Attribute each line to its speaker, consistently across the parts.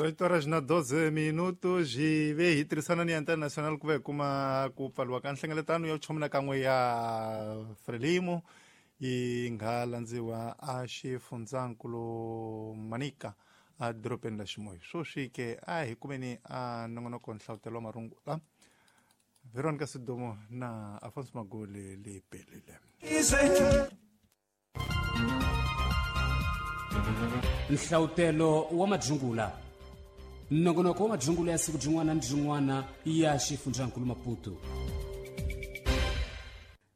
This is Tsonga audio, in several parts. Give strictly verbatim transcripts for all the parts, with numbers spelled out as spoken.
Speaker 1: dezoito horas na doze minutos hi ve hi tirhisana ni Antena Nacional ku va hi kuma ku pfariwa ka nhlengeletano ya vuchomi na kan'we ya Frelimo yi nga landziwa a xifundzankulu Manica a dorobeni la Ximoyi. Swoswi ke a hi kumeni a nongonoko nhlavutelo wa marungula Veronica Sidomo na Afonso Magoli le pelile.
Speaker 2: Nhlawutelo wa madzungula nongonoko wa madzungula ya siku byin'wana ni byin'wana ya xifundzankulu Maputo.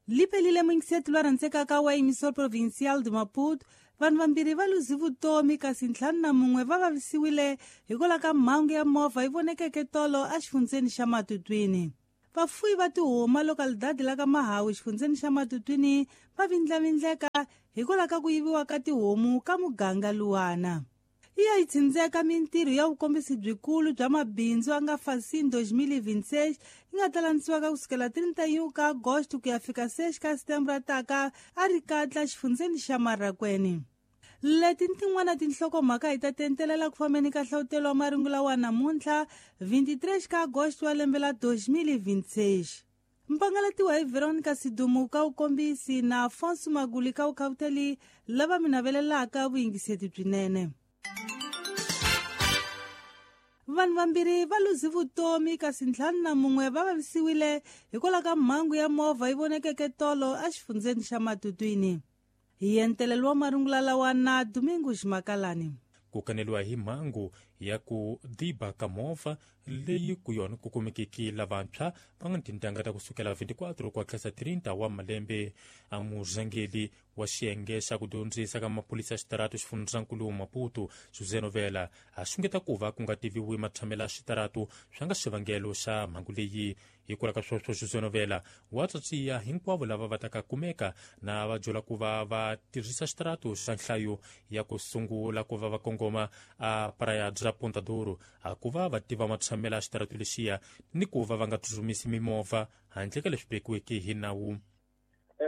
Speaker 3: Lipelile mwingisetu lwa rhandzekaka wa emissor provincial de Maputo, vanhu vambirhi va luzi vutomi kasi ntlhanu na mun'we va vavisiwile hikwalaho ka mhangu ya movha yi vonekeke tolo exifundzeni xa Matutwini. Vafuyi va tihuma localidade la ka Mahawu xifundzeni xa Matutwini va vindlavindleka hikwalaho ka ku yiviwa ka tihomu ka muganga luwana. Yi ya yi tsindzeka mintirho ya vukombisi byikulu bya mabindzu a nga Fasin dois mil e vinte e seis yi nga ta landzisiwaka kusukela trinta e um ka agosto ku ya fika seis ka setembro taka a ri katla xifundzeni xa Marracuene. Leti ni tin'wana tinhlokomhaka hi ta tentelela ku fambeni ka hlavutelo wa marungula wa namuntlha vinte e três ka agosto wa lembe la dois mil e vinte e seis. Mpangalatiwa hi Veronica Sidumu ka vukombisi na Afonso Maguli ka vukhavuteli lava mi navelelaka vuyingiseti byinene. Vanhu vambirhi va luzi vutomi kasi ntlhanu na mun'we va vavisiwile hikwalaho ka mhangu ya movha yi vonekeke tolo exifundzeni xa Matutwini. Hi entelelo wa marungula lawa na Domingos Makalani.
Speaker 4: Ku kaneliwa hi mhangu ya ku diba ka movha leyi ku yona ku kumekeke lavantshwa va nga tintangha ta kusukela vinte e quatro ku tlhela trinta wa malembe. A murhangeri wa xiyenge xa ku dyondzisa ka maphorisa ya xitaratu xifundzankulu Maputo José Novela a xungeta ku va ku nga tiviwi matshamelo ya xitaratu swa nga xivangelo xa mhangu leyi. Hikwalaho ka sweswo José Novela wa tsatsiya hinkwavo lava va taka kumeka na va byela ku va va tirhisa xitaratu xa nhlayo ya ku sungula ku va va kongoma a Praia bya Ponta Duro a ku va va tiva matshamelo ya xitaratu lexiya ni ku va va nga tsutsumisi mimovha handle ka leswi vekiweke hi nawu.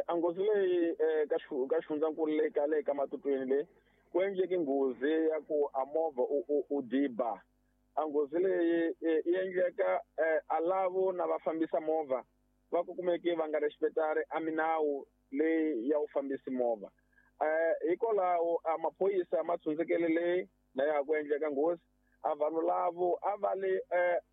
Speaker 5: A nghozi leyi ka ka xifundzankulu leyi ka le ka Matutwini leyi ku endleke nghozi ya ku a movha u u diba. A nghozi leyi yi endleka a lavo na va fambisa movha va ku kumeke va nga respectari a minawu leyi ya u fambisi movha. Hikwalaho a maphorisa ma tshundzekele leyi na ya ku endleka nghozi a vanhu lavo a va le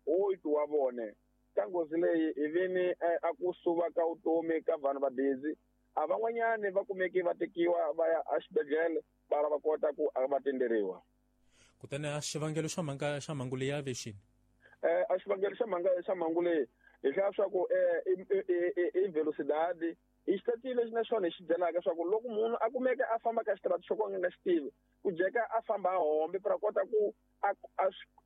Speaker 5: oito wa vone ka nghozi leyi hi vini a ku suva ka vutomi ka vanhu va busy a van'wanyani va kumeke va tekiwa va ya exibedhlele va va kota ku va tenderiwa.
Speaker 4: Kutani a xivangelo xa mhanga xa mhangu leyi ya vexini
Speaker 5: eh a xivangelo xa mhanga xa mhangu leyi hi hlaya swa ku i velocidade i xitatile lexi na xona hi xi byelaka swa ku loko munhu a kumeka a famba ka xitaratu xo ka a nga xi tivi ku jeka a famba a hombe para kota ku a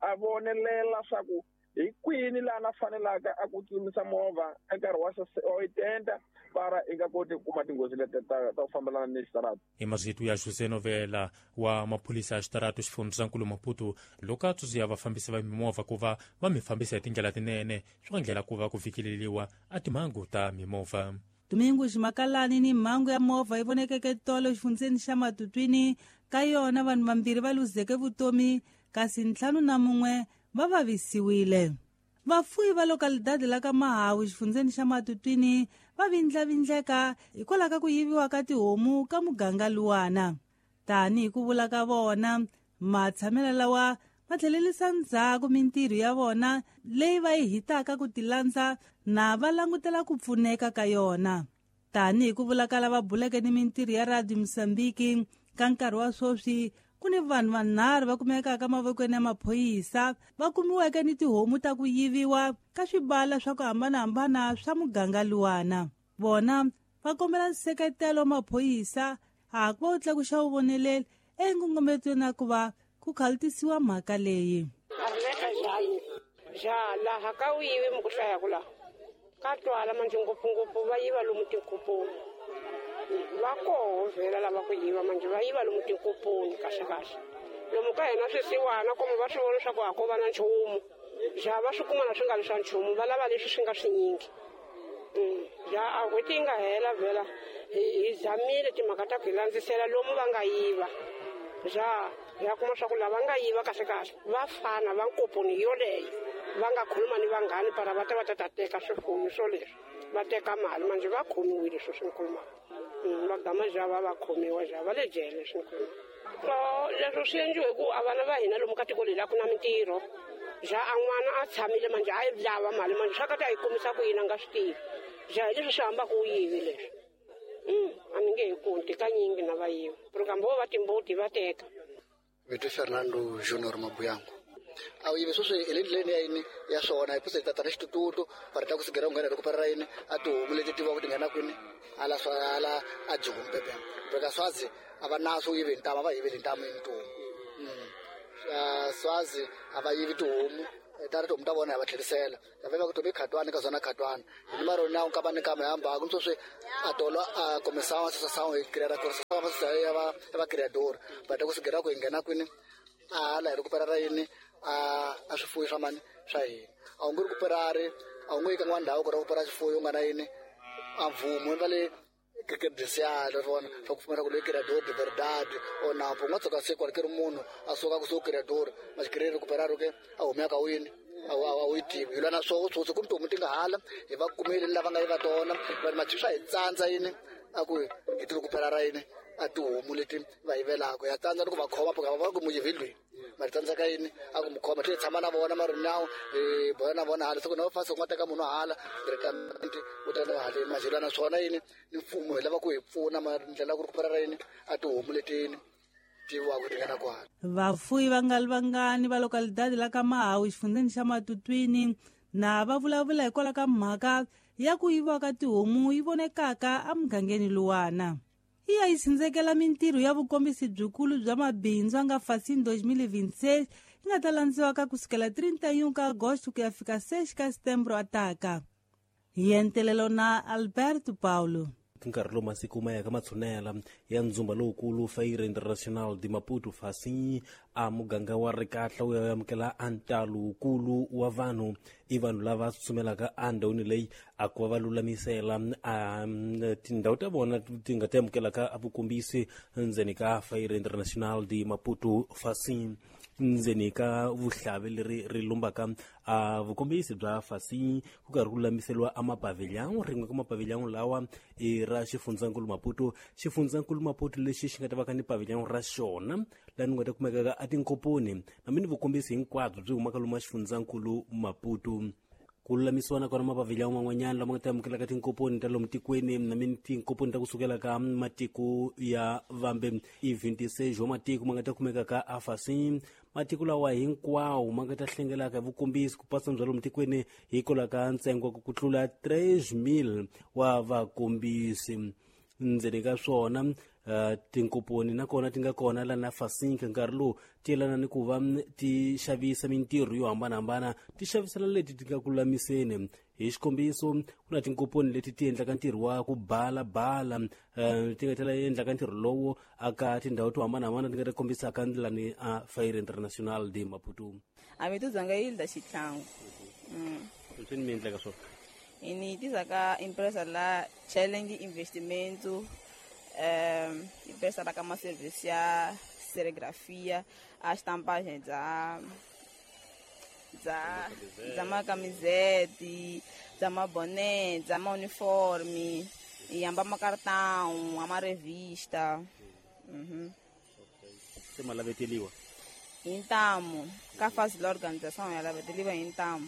Speaker 5: a vonelela swa ku hi kwini laha na fanelaka a ku tsutsumisa movha nkarhi wa oitenta para i nga koti ku kuma tinghozi leti ta ta ku fambelana ni xitaratu.
Speaker 4: Hi marito ya José Novela wa maphorisa ya xitaratu xifundzankulu Maputo loko a tsundzuxa vafambisi va mimovha ku va va mi fambisa hi tindlela tinene swi nga ndlela ku va ku fikeleriwa a timhangu ta mimovha.
Speaker 3: Domingos Makalani ni mhangu ya movha yi vonekeke tolo xifundzeni xa Matutwini ka yona vanhu vambirhi va luzeke vutomi kasi ntlhanu na mun'we va vavisiwile. Vafuyi va localidade la ka Mahawu xifundzeni xa Matutwini va vindlavindleka hikwalaho ka ku yiviwa ka tihomu ka muganga luwana. Tanihi ku vula ka vona, matshamelo lawa ma tlhelerisa ndzhaku mintirho ya vona leyi va yi hitaka ku tilandza na va langutela ku pfuneka ka yona. Tanihi ku vula ka lava buleke ni mintirho ya Radio Mozambique ka nkarhi wa sweswi ku ni vanhu vanharhu va kumekaka mavokweni ya maphorisa va kumiweke ni tihomu ta ku yiviwa ka swibala swa ku hambanahambana swa muganga luwana. Vona va kombela nseketelo wa maphorisa a ku va wu tlakuxa vuvoneleli enkongometweni ya ku va ku khalutisiwa mhaka leyi.
Speaker 6: Ja laha ka wu yivi mi ku hlaya ku laha ka twala manjhe ngopfungopfu va yiva lomu tinkupuni va koho vhela lava ku yiva manjhe va yiva lomu tinkupuni kahle kahle lomu ka hina swisiwana komo va swi vona leswaku a ko va na nchumu ja va swi kuma na swi nga ri swa nchumu va lava leswi swi nga swinyingi. Ja a n'hweti yi nga hela vhela hi hi zamile timhaka ta ku hi landzisela lomu va nga yiva ja Ya kuma swa ku lava nga yiva kahle kahle va fana va nkoponi yoleyo va nga khuluma ni vanghani para va ta va ta ta teka swifuyo swo leswi va teka mali manje va khomiwile swo swi ni khulumaka va gama java va khomiwa java va le jele swi ni khulumaka leswo swi endliwe hi ku a vana va hina lomu ka tiko leri a ku na mintirho ja a n'wana a tshamile manje a yi lava mali manje swa ka ta yi kumisa ku yini a nga swi tivi ja hi leswi swi hambaka u yivi leswi a ni nge hi kunti kanyingi na va yiva kambe vo va timbuti va teka.
Speaker 7: Vito Fernando Junior Mabuyango. A yivi sweswi hi le ndleleni ya yini ya swona hi puse tata na xitututu va ri ta ku sigera ku nghena loko parara yini a tihomu leti tiviwaka ti nghena kwini ala swa ala a joni bebe beka swazi a va naso yivi ntamu a va yiveli ntamu yini tihomu swazi a va yivi tihomu ta ri tihomu ta vona hi va tlherisela va va ku tobe khatwani ka zona khatwani hi maro na u kaba ni kama hamba ku sweswi a tolo a começar a associação e criar a associação ya va va criador va ta ku sigera ku nghena kwini a la hi recuperar yini a a swifuyo swa mani swa hina a wu nge recuperari a wu nge yi ka n'wana ndhawu ku recuperar swifuyo u nga na yini a mvumo va le credencial vona swa ku pfumela ku loyi criador de verdade o na u nga tshuka se kwale ri munhu a suka kusuhi criador ma xikiri recuperar ke a humeka wini a wu yi tivi hi lwa na swoho swoswi ku tihomu ti nga hala hi va kumile lava nga yiva tona va ri swa hi tsandza yini a ku hi ti recuperar yini a tihomu leti va yivelaka ya tsandza ni ku va khoma va va ku muyivi lweyi ma ri tsandzeka yini a ku mu khoma tlhe hi tshama na vona ma ri nawu hi boya na vona hala siku na fasi u nga teka munhu hala directamente u ta na haleni ma na swona yini ni mfumo hi lava ku hi pfuna ma ndlela ku recuperar yini a tihomu letini tiviwaka ti nga na kwala.
Speaker 3: Vafuyi va nga ri vangani va localidade la ka Mahawu xifundzeni xa Matutwini na va vulavula hikwalaho ka mhaka ya ku yiviwa ka tihomu yi vonekaka emugangeni luwana. Yi ya yi sindzekela mintirho ya vukombisi byikulu bya mabindzu a nga Facim dois mil e vinte e seis yi nga ta landziwaka kusukela trinta e um ka agosto ku ya fika seis ka setembro ataka. Hi entelelo na Alberto Paulo.
Speaker 8: Nkarhi lowu masiku ma yaka matshunela ya ndzumba lowukulu Feira Internacional de Maputo Facim a muganga wa Rikahla wu ya amukela a ntalo wukulu wa vanhu i vanhu lava tsutsumelaka endhawini leyi a ku va va lulamisela a tindhawu ta vona ti nga ti amukelaka a vukombisi ndzeni ka Feira Internacional de Maputo Facim ndzeni ka vuhlavi leri ri lumbaka a vukombisi bya Facim ku karhi ku lulamiseriwa a mapavilhão rin'we ka mapavilhão lawa i ra xifundzankulu Maputo xifundzankulu Maputo lexi xi nga ta va ka ni pavilhão ra xona laha ni nga ta kumekaka a tinkoponi na mi ni vukombisi hinkwabyo byi humaka lomu xifundzankulu Maputo ku lulamisiwa na kona mapavilhão man'wanyana lama nga ta amukelaka tinkoponi ta lomu tikweni na mi tinkoponi ta kusukela ka matiko ya vambe i vinte e seis wa matiko ma nga ta kumekaka a Facim matiko lawa hinkwawo ma nga ta hlengelaka hi vukombisi ku pasa bya lomu tikweni hikwalaho ka ntsengo ku tlula três mil wa vakombisi ndzeni ka swona Uh, tinkoponi nakona ti nga kona la na Facim nkarhi lowu ti yelana ni ku va ti xavisa mintirho yo hambanahambana ti xavisela leti ti nga ku lulamiseni hi xikombiso ku na tinkoponi leti ti endlaka ntirho wa ku balabala uh, ti nga tlhela endlaka ntirho lowo aka tindhawu to hambanahambana ti nga ta kombisaka ndlela ni a Feira Internacional de Maputo.
Speaker 9: A mi tuzanga Hilda Xitlangu.
Speaker 8: Swi ni mi endlaka swona
Speaker 9: ini tizaka empresa la Challenge Investimento Um, empresa la kama serviço ya serigrafia, a estampagem da da da uma camiseta, da uma boné, da uma uniforme, e amba uma cartão, uma revista. Uhum.
Speaker 8: Você mala veteliwa.
Speaker 9: Então, ka faz a organização ela veteliwa então.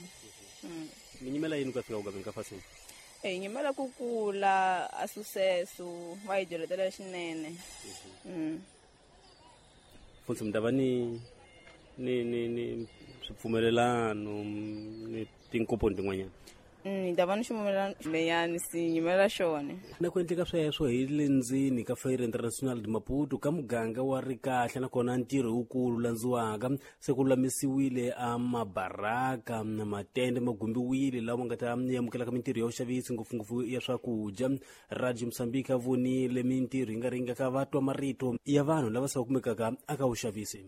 Speaker 9: Uhum.
Speaker 8: Minimela yini ka fika u ka fazendo?
Speaker 9: E nyimela ku kula a sucesso va hi dyoletela swinene.
Speaker 8: Mfundzi mi ta va ni ni ni ni swipfumelelano ni tinkoponi tin'wanyana.
Speaker 9: Ni ta va ni xipfumelelano leyani si nyimela xona.
Speaker 8: Na ku endleka sweswo hi le ndzeni ka Feira Internacional de Maputo ka muganga wa Rikahla nakona ntirho wukulu landziwaka se ku lulamisiwile a mabaraka na matende ma gumbiwile lawa ma nga ta amukelaka mintirho ya vuxavisi ngopfungopfu ya swakudya. Radio Mozambique a vonile mintirho yi nga ringaka va twa marito ya vanhu lava se va kumekaka aka vuxavisi.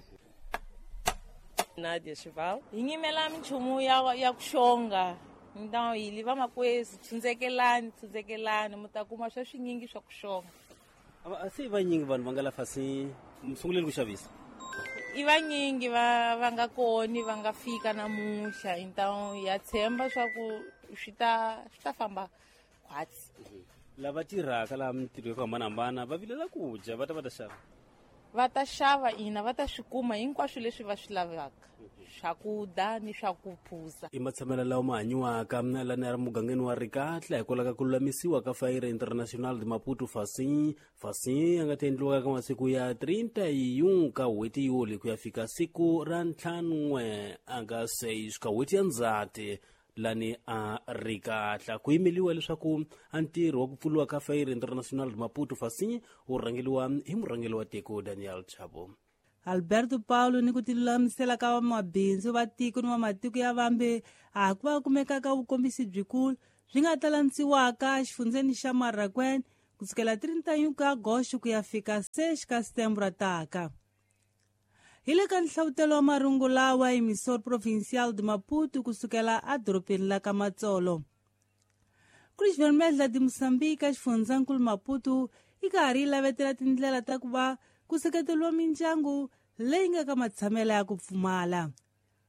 Speaker 10: Nadia Chival hi nyimela minchumu ya ya ku xonga. Então ili va makwezi tsundzekelani tsundzekelani mi ta kuma swa swinyingi swa ku xonga.
Speaker 8: A se vanyingi vanhu va nga la Facim mi sunguleni ku xavisa?
Speaker 10: I vanyingi va va nga koni va nga fika namuntlha, então ya tshemba swa ku swi ta swi ta famba khwatsi.
Speaker 8: Lava tirhaka laha mintirho yo hambanahambana va vilela ku dya, va ta va ta xava.
Speaker 10: Va ta xava ina, va ta swi kuma hinkwaswo leswi va swi lavaka, swakudya ni swa ku phuza.
Speaker 8: I matshamelo lawa ma hanyiwaka lani ya mugangeni wa Rikatla hikwalaho ka ku lulamisiwa ka Feira Internacional de Maputo Facim Facim ya nga ta endliwaka ka masiku ya treinta e um ka n'hweti Yuli ku ya fika siku ra ntlhanu anga seis ka n'hweti ya Ndzhati lani a Rikatla. Ku yimeliwa leswaku a ntirho wa ku pfuriwa ka Feira Internacional de Maputo Facim wu rhangeliwa hi murhangeri wa tiko Daniel Chapo.
Speaker 3: Alberto Paulo ni ku tilulamisela ka vamabindzu va tiko ni va matiko ya vambe a ku va kumekaka vukombisi byikulu byi nga ta landziwaka exifundzeni xa Marraquene kusukela trinta e um ka agosto ku ya fika seis ka setembro taka. Hi le ka nhlavutelo wa marungu lawa emissor provincial de Maputo kusukela edorobeni la ka Matsolo. Cruz Vermelha de Moçambique xifundzankulu Maputo yi karhi yi lavetela tindlela ta ku va ku seketeriwa mindyangu leyi nga ka matshamelo ya ku pfumala.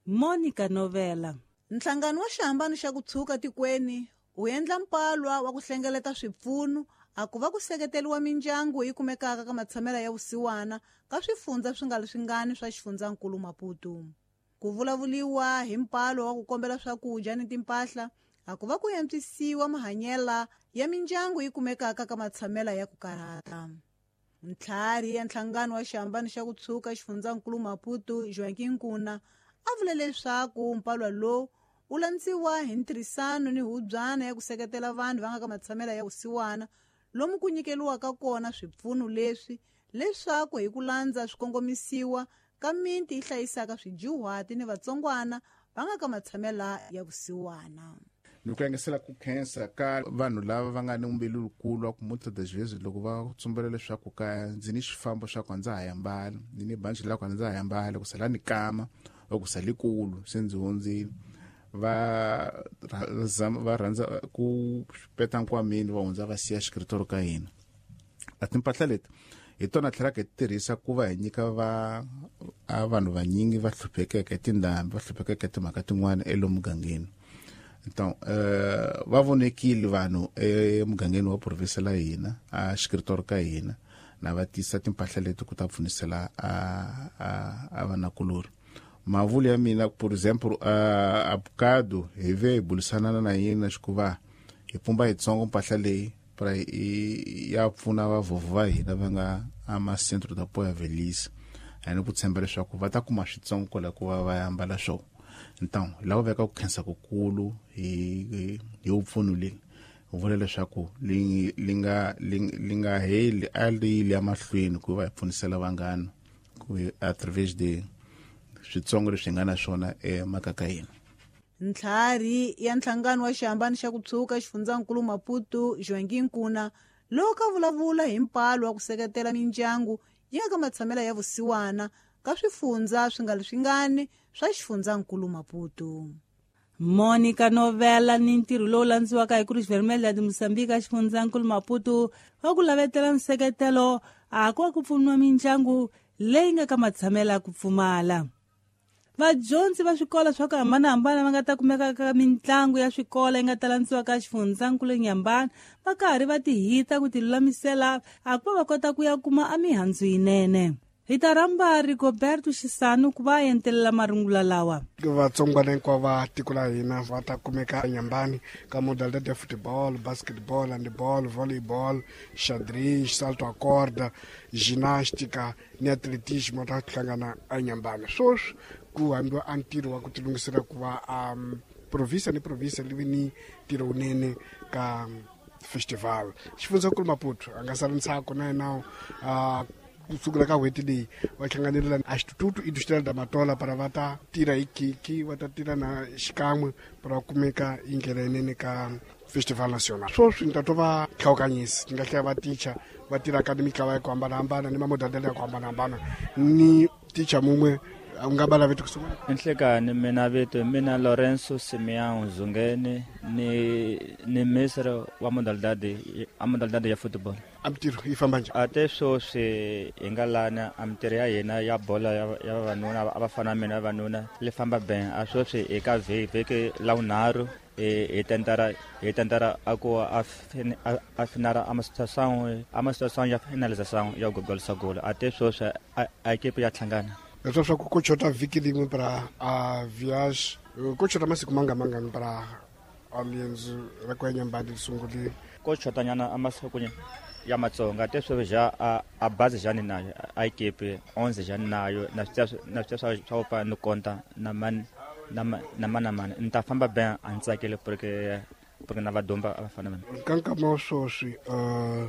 Speaker 3: Monica Novela.
Speaker 11: Nhlangano wa xihambano xa ku tshuka tikweni wu endla mpalwa wa ku hlengeleta swipfuno a ku va ku seketeriwa mindyangu yi kumekaka ka matshamelo ya vusiwana ka swifundza swi nga leswingani swa xifundzankulu Maputo. Ku vulavuliwa hi mpalwa wa ku kombela swakudya ni timpahla a ku va ku antswisiwa mahanyela ya mindyangu yi kumekaka ka matshamelo ya ku karhata. Ntlhari ya nhlangano wa xihambano xa ku tshuka xifundzankulu Maputo Joaquim Nkuna a vule leswaku mpalwa lowu wu landziwa hi ntirhisano ni hubyana ya ku seketela vanhu va nga ka matshamelo ya vusiwana lomu ku nyikeliwaka kona swipfuno leswi leswaku hi ku landza swikongomisiwa ka miti yi hlayisaka swidyuhati ni vatsongwana va nga ka matshamelo ya vusiwana.
Speaker 12: Ni ku yangisela ku khensa ka vanhu lava va nga ni mbilu lukulu wa ku muta das vezes loko va tsumbela leswaku ka ndzi ni xifambo xa ku ndza ha yambala, ndzi ni banji la ku ndza ha yambala, ku sala ni kama or ku sala kulu se ndzi hundzile, va va rhandza ku peta nkwamini va hundza va siya xikritoro ka hina. A timpahla leti hi tona tlhelaka hi tirhisa ku va hi nyika va a vanhu vanyingi va hluphekeke tindhambi, va hluphekeke timhaka tin'wana elomugangeni. Então, uh, va vonekile vanhu emugangeni wa province la hina, a xikritoro ka hina, na va tisa timpahla leti ku ta pfunisela a a a vanakulori. Mavulu ya mina, por exemplo, a abocado hi ve hi bulisana na yena xikuva hi pumba yitsongo mpahla leyi para ya pfuna vavhovho va hina va nga ama centro da apoio à velhice. Aí ku tshemba leswaku va ta kuma switsongo kwala ku va va ambala swona. Então, lava veka ku khensa kukulu hi hi upfuno leyi vula leswaku li li nga li nga heli a li ya mahlweni ku va hi pfunisela vanghana ku através de switsongo leswi nga na swona emakaka hina.
Speaker 11: Ntlhari ya nhlangano wa xihambano xa ku tshuka xifundzankulu Maputo Joaquim Nkuna loko a vulavula hi mpalo wa ku seketela mindyangu yi nga ka matshamelo ya vusiwana ka swifundza swi nga leswingani swa xifundzankulu Maputo.
Speaker 3: Monica Novela ni ntirho lowu landziwaka hi Cruz Vermelha de Moçambique xifundzankulu Maputo wa ku lavetela nseketelo a ku ku pfuniwa mindyangu leyi nga ka matshamelo ya ku pfumala. Vadyondzi va swikolo swa ku hambanahambana va nga ta kumeka ka mitlangu ya swikolo yi nga ta landziwa ka xifundzankulu Nyambana va karhi va tihita ku tilulamisela a ku va va kota ku ya kuma a mihandzu yinene. Hi ta rhamba Rigoberto Xisanu ku va entelela marungula lawa.
Speaker 13: Vatsongwana hinkwavo va tiko la hina va ta kumeka eNyambani ka modalidade ya football, basketball, handball, volleyball, xadrez, salto a corda, ginástica ni atletismo ta hlangana eNyambani. Sweswi ku hambiwa a ntirho wa ku tilunghisela ku va um, province ni province li vi ni ntirho wunene ka festival. Xifundzankulu Maputo a nga sali ntsako na yena uh, kusukela ka n'hweti leyi va hlanganile na Instituto Industrial da Matola para va ta tirha hi khikhi, va ta tirha na xikan'we para kumeka hi ndlela yinene ka festival national. Sweswi ni ta twa va hlawukanyisi ni nga hlaya va ticha va tirhaka ni mitlawa ya ku hambanahambana ni mamodalidade ya ku hambanahambana ni ticha mun'we U nga bala vito ku sungula?
Speaker 14: Enhlekani mina vito mina Lorenzo Simeão Zungeni ni ni ministro wa modalidade a modalidade ya football.
Speaker 13: A mintirho yi famba njhani?
Speaker 14: A te sweswi hi nga lana a mintirho ya hina ya bola ya ya vavanuna a va fana na mina vavanuna li famba ben a sweswi hi ka vhiki la vunharhu hi tentara hi tentara a ku a a finara a situação a situação ya finalização ya gogolisa golo a te sweswi a equipe ya hlangana.
Speaker 13: Leswi swa ku ku chota vhiki rin'we para a viage ku chota masiku manga mangani para alienzo ra ku ya Nyambani ri sungulile?
Speaker 14: Ko chotanyana a masiku ya matsonga te sweswi ja a a bazi jani nayo a equipe onze jani nayo na swi na swi swa swa pa ni konta na man na na mana mana ni ta famba ben a ni tsakile porque porque na vadomba a va fana na mina.
Speaker 13: Ka nkama wa sweswi uh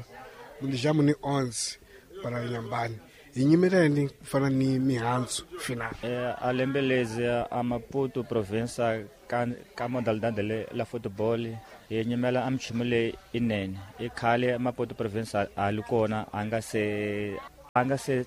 Speaker 13: muli ni onze para Nyambani hi nyimeleni ku fana ni mihandzu final.
Speaker 14: Eh a lembe lezi a Maputo province ka ka modalidade le la football hi nyimela a minchumu leyi inene i khale Maputo province a li kona a nga se a nga se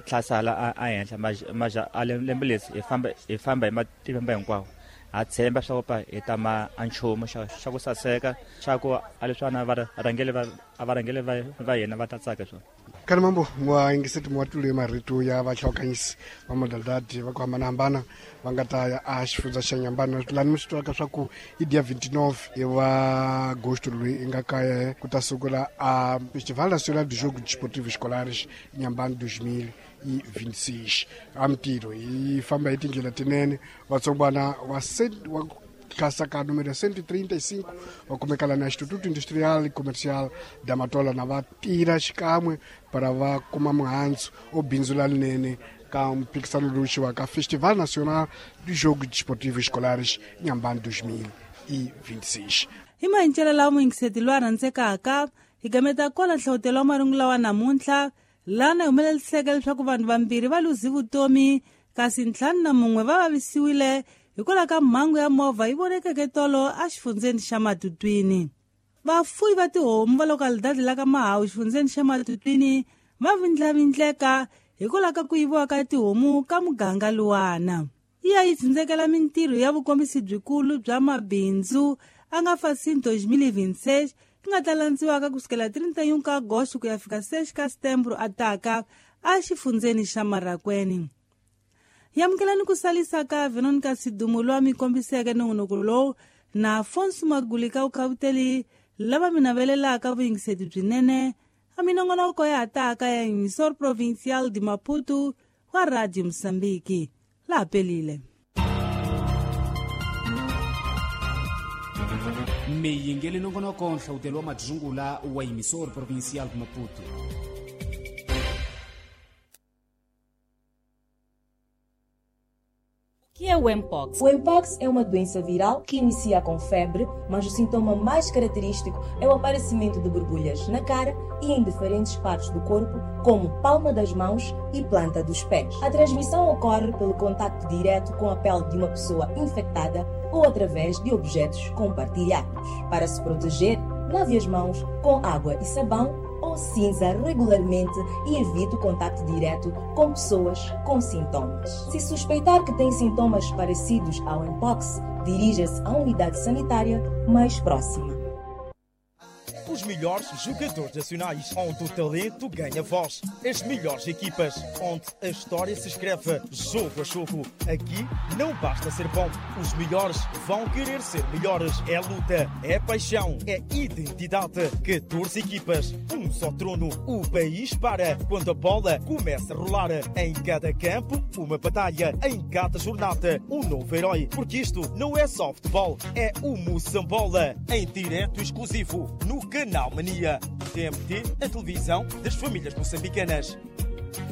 Speaker 14: tlhasala a henhla maja a lembe lezi hi famba hi famba hi matimba hinkwawo ha tshemba swa ku pa hi ta ma a nchumu xa xa ku saseka xa ku a leswana va rhangeli va a va rhangeli va va hina va ta tsaka swona.
Speaker 13: Kana mambo mwa ingiseti mwatule marito ya vahlokanyisi va modalidade va ku hambanahambana va nga ta ya a xifundza xa Nyambani lani mi swi twaka swa ku i dia vinte e nove wa agosto loyi i nga kaya ku ta sungula a Festival Nacional de Jogo Desportivo Escolares Nyambani dois mil e vinte e seis. A mintirho yi famba hi tindlela tinene vatsongwana wa wa klasa ka número cento e trinta e cinco va kumeka la na Instituto Industrial e Comercial da Matola na va tirha xikan'we para va kuma muhandzu o bindzu lalinene ka mphikisano lowu xiwaka Festival Nacional de Jogo Desportivo Escolares Nyambani dois mil e vinte e seis.
Speaker 3: Hi mahincelo lawa muyingiseti loyi a rhandzekaka hi gameta kwala nhlawutelo wa marungu lawa namuntlha lana hi humeleliseke leswaku vanhu vambirhi va luzi vutomi kasi ntlhanu na mun'we va vavisiwile hikwalaho ka mhangu ya movha yi vonekeke tolo exifundzeni xa Matutwini. Vafuwi va tihomu va lokalidade la ka Mahawu xifundzeni xa Matutwini va vindlavindleka hikwalaho ka ku yiviwa ka tihomu ka muganga luwana. Yi ya yi tsindzekela mintirho ya vukombisi byikulu bya mabindzu a nga Facim dois mil e vinte e seis yi nga ta landziwaka kusukela trinta e um ka agosto ku ya fika seis ka setembro ataka exifundzeni xa Marracuene. Yamukelani ku salisa ka Veronica Sidumo loyi a mi kombiseke nongonoko lowu na Afonso Maguli ka vukhavuteli lava mi navelelaka vuyingiseti byinene a minongonoko ya hataka ya Emissor Provincial de Maputo wa Radio Moçambique. Laha pelile.
Speaker 2: Mi yingeli nongonoko nhlawutelo wa madzungula wa Emissor Provincial de Maputo.
Speaker 15: O que é o Mpox? O Mpox é uma doença viral que inicia com febre, mas o sintoma mais característico é o aparecimento de borbulhas na cara e em diferentes partes do corpo, como palma das mãos e planta dos pés. A transmissão ocorre pelo contacto direto com a pele de uma pessoa infectada ou através de objetos compartilhados. Para se proteger, lave as mãos com água e sabão ou cinza regularmente e evite o contato direto com pessoas com sintomas. Se suspeitar que tem sintomas parecidos ao Mpox, dirija-se à unidade sanitária mais próxima.
Speaker 16: Os melhores jogadores nacionais, onde o talento ganha voz. As melhores equipas, onde a história se escreve jogo a jogo. Aqui não basta ser bom, os melhores vão querer ser melhores. É luta, é paixão, é identidade. catorze equipas, um só trono. O país para quando a bola começa a rolar. Em cada campo, uma batalha. Em cada jornada, um novo herói. Porque isto não é só futebol, é o Moçambola. Em direto exclusivo no Canal Mania. T M T, a televisão das famílias moçambicanas.